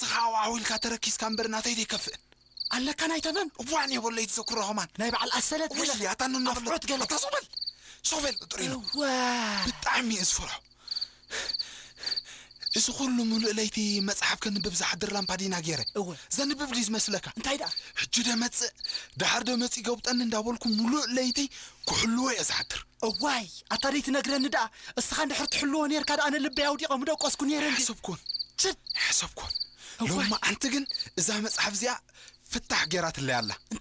ንስኻ ኣብኡ ኢልካ ተረኪስካ እምበር ናተይ ዘይከፍእ። ኣለካ ናይ ተመን እዋን የበሎ ይትዘክሮ ኸማን። ናይ በዓል ኣሰለት ገለ ውይ ኣታ ንናፍለት ኣፍዖት ገለ ኣታ ሶበል ሶበል ጥሪ ነው። ዋ ብጣዕሚ እየ ዝፈርሖ። እዚ ኩሉ ሙሉእ ለይቲ መጽሓፍ ከንብብ ዝሓድር ላምፓዲና ገይረ እወ ዘንብብ ድዩ ዝመስለካ? እንታይ ደኣ ሕጂ ዶ መጽእ ድሓር ዶ መጽእ ይገብጠኒ እንዳበልኩ ሙሉእ ለይቲ ክሕልዎ እየ ዝሓድር። እዋይ ኣታ ደይ ትነግረኒ ደኣ። እስኻ እንድሕር ትሕልዎ ነርካ ደኣ ኣነ ልበይ ኣውዲቐ ምደቆስኩ ነይረ እንዲ ሓሰብኩን ችድ ሓሰብኩን እዋይ። ሎማዓንቲ ግን እዛ መጽሓፍ እዚኣ ፍታሕ ገይራትለይ ኣላ። እንታይ